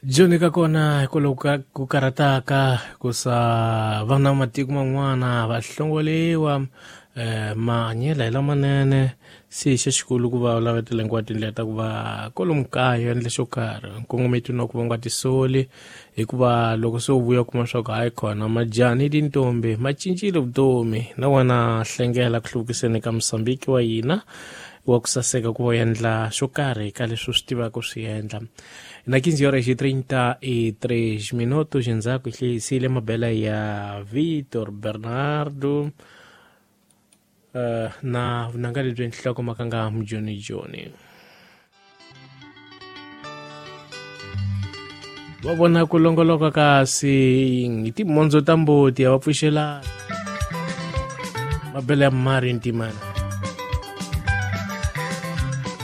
Joni ka kona hikwalaho ka ku karhataka hikusa vana matiko man'wana va hlongoliwa mahanyelo hi lamanene se xa xikulu ku va lavetela hinkwato tindlela ta ku va kwalomu kaya endla xo karhi nkongometo na ku va nga tisoli hikuva loko se u vuya kuma swa ku hayi khona majani tintombi ma cincile vutomi na wena hlengela ku hluvukiseni ka Mozambique wa hina wa ku saseka ku va endla xo karhi ka leswi u swi tivaka swi endla. Na 15 horas e 33 minutos endzhaku hi hlayisile mabela ya Vitor Bernardo na vunanga lebyi nhloko makanga mujoni joni va vona ku longoloka kasi hi timondzo ta mbuti a va pfuxelana mabela ya mari ntimana.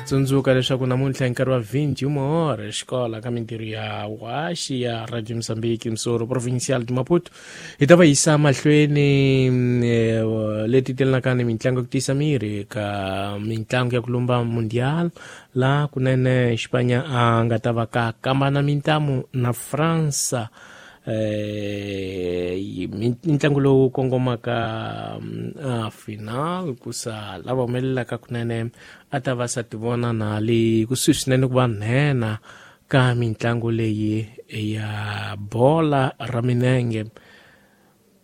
Tsundzuka leswaku namuntlha hi nkarhi wa 21 hora xikola ka mintirho ya waxi ya Radio Mozambique Msoro Provincial de Maputo hi ta va yisa mahlweni leti telanaka ni mitlangu ya ku tiyisa miri ka mitlangu ya ku lumba mundial la kunene Xipanya a nga ta va ka kambana mintamu na Fransa ntlangu lowu kongomaka final kusa lava humelelaka kunene a ta va sa tivona na le kusuhi swinene ku va nhenha ka mitlangu leyi ya bola ra minenge.